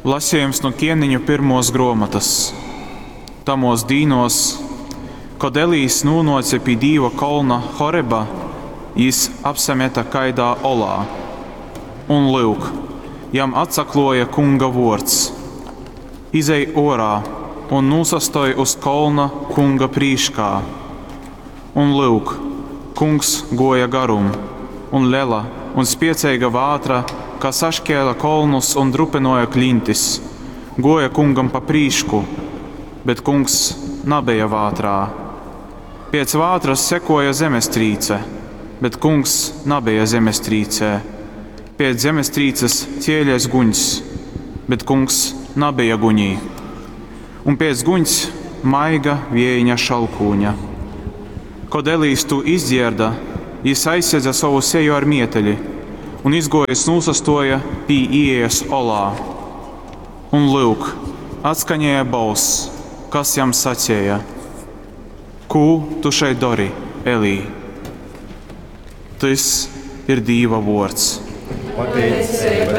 Lasejums nu Kieneņu pyrmuos gruomotys. Tamuos dīnuos, kod Elijs nūnuoce pi Dīva kolna Horeba, jis apsameta kaidā olā. Un, lyuk, jam atsakluoja Kunga vuords, Izej uorā un nūsastoj uz kolna Kunga prīškā. Un, lyuk, Kungs guoja garum, un lela un spieceiga vātra, kas saškēle kolnus un drupynuoja kliņtis, guoja Kungam pa prīšku, bet Kungs nabeja vātrā. Piec vātras sekuoja zemestrīce, bet Kungs nabeja zemestrīcē. Piec zemestrīces cielēs guņs, bet Kungs nabeja guņī. Un piec guņs maiga viejiņa šalkūņa. Kod Elijs tū izdzierda, jis aizsedze sovu seju ar mieteli un izguojis nūsastuoja pi iejas olā. Un, lyuk, atskaņēja bolss, kas jam saceja: Kū tu šeit dori, Elij? Tys ir Dīva vuords. Pateiceiba.